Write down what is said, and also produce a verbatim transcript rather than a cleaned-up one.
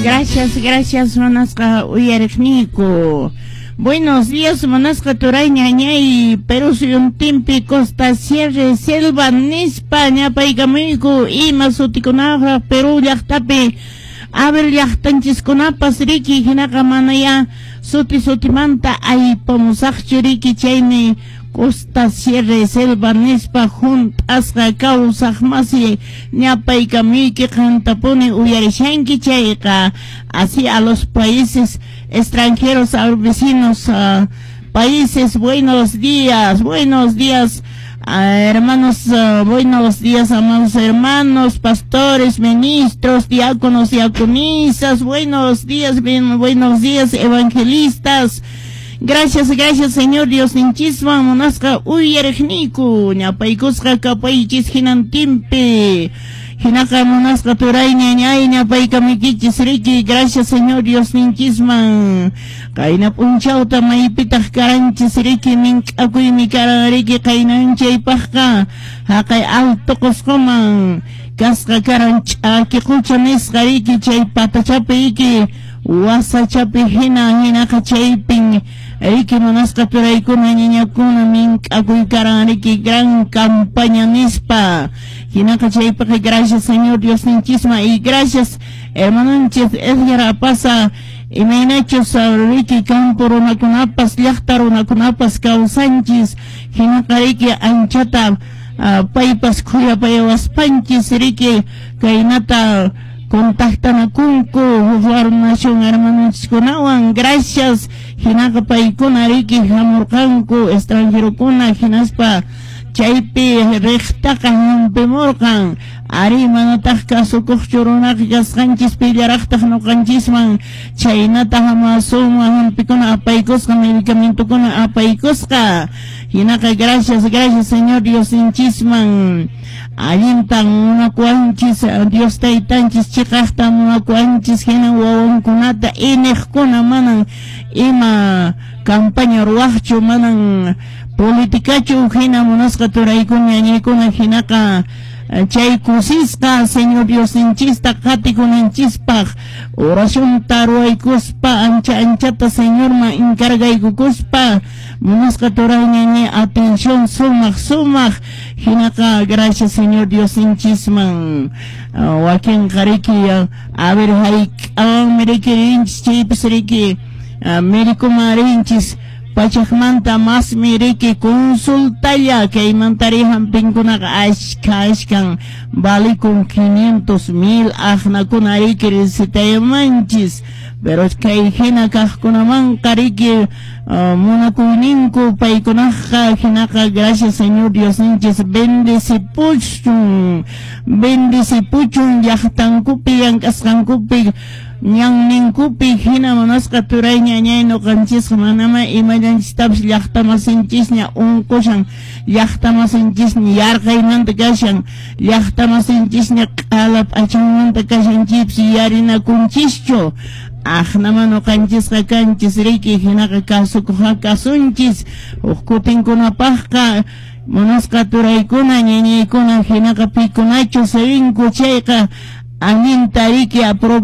Gracias, gracias, munasqa uyariqniyku. Buenos días, munasqa turay, ñañay, Perú suyuntinpi Costa, Sierra, Selva nispa ñapaykamuyku. Ima sutikunaqa Perú llaqtapi? A ver, llaqtanchiskunapas riki, hinaqa manaya suti sutimanta aypamusaqchu riki, chaymi Costa, Sierra, Selva nispa hunt'asqa kawsaq masi ñapaykamuyki, qantapuni uyarishanki chayqa. Así a los países extranjeros, a los vecinos uh, países, buenos días, buenos días, uh, hermanos, uh, buenos días, amados hermanos, pastores, ministros, diáconos, diaconisas, buenos días, bien, buenos días, evangelistas. Gracias, gracias, Señor Diosninchisman, munasqa uyariqniyku, ñapaykusqa kapaychis hinantinpi. Hinaqa munasqa turay, ñañay, ñapaykamuykichis riki, gracias Señor Diosninchisman. Qayna p'unchawta maypitaq karanchis riki, mink'akuymi karan riki qaynanchaypaqqa, haqay Alto Qusquman kasqa karan ch'aki qucha nisqa riki, chay patachapi riki, wasachapi hina, hinaqa chaypin riki munasqa turaykuna, ñañakuna, mink'akuy karan riki, gran campaña nispa. Hinaqa chaypiqa gracias Señor Diosninchisman y gracias hermanonchis Edgar Apaza, imaynachus riki campo runakunapas llaqta runakunapas kawsanchis, hinaqa riki anchata uh, paypas khuyapayawaspanchis riki kaynata contactanakunku huk nación hermanonchiskunawan. Gracias. Hinaqa paykuna riki hamurqanku extranjerokuna, hinaspa chaypi riqtaqa hampimurqan. Ari manataq kasukuqchu runaqa kasqanchis, pillaraqtaq ñuqanchisman chaynata hamasuma hampikuna apaykusqa, medicamentokuna apaykusqa. Hinaqa gracias, gracias Señor Diosninchisman. Allintan munakuwanchis Dios taytanchis, chiqaqta munakuwanchis, hina wawankunata iniqkuna manan ima campaña ruwaqchu, manan politikachu hina, munasqa turaykuna, ñañaykuna, hinaqa chay kusisqa Señor Diosninchista qatikunanchispaq oracionta ruwaykuspa, ancha anchata Señorman encargaykukuspa, munasqa turay, ñañay, atención sumaq sumaq. Hinaqa gracias Señor Diosninchisman. Wakinqa riki a ver hayk'awanmi riki rinchis chaypis riki médicoman rinchis, pachakmanta masmi riki consultalla, kaymantari hampinkunaqa ashka ashkan valikun, quinientos mil aqnakuna riki recetayamanchis, pero kay hina kaqkunamanqa riki uh, munakuyninku paykunaqa. Hinaqa gracias Señor Diosninchis, bendecipuchun, bendecipuchun llaqtankupi, llank'asqankupi, ñanninkupi. Hina munasqa turay, ñañay, ñuqanchisqa manama imallanchistapas, llaqtamasinchisña unqushan, llaqtamasinchisña yarqaymanta kashan, llaqtamasinchisña q'ala p'achanmanta kashan, chaypis yarinakunchischu. Aqnama ñuqanchisqa kanchis riki. Hinaqa kasukuqqa kasunchis huk kutinkunapaqqa, munasqa turaykuna, ñañaykuna. Hinaqa pikunachu rinku chayqa allinta riki.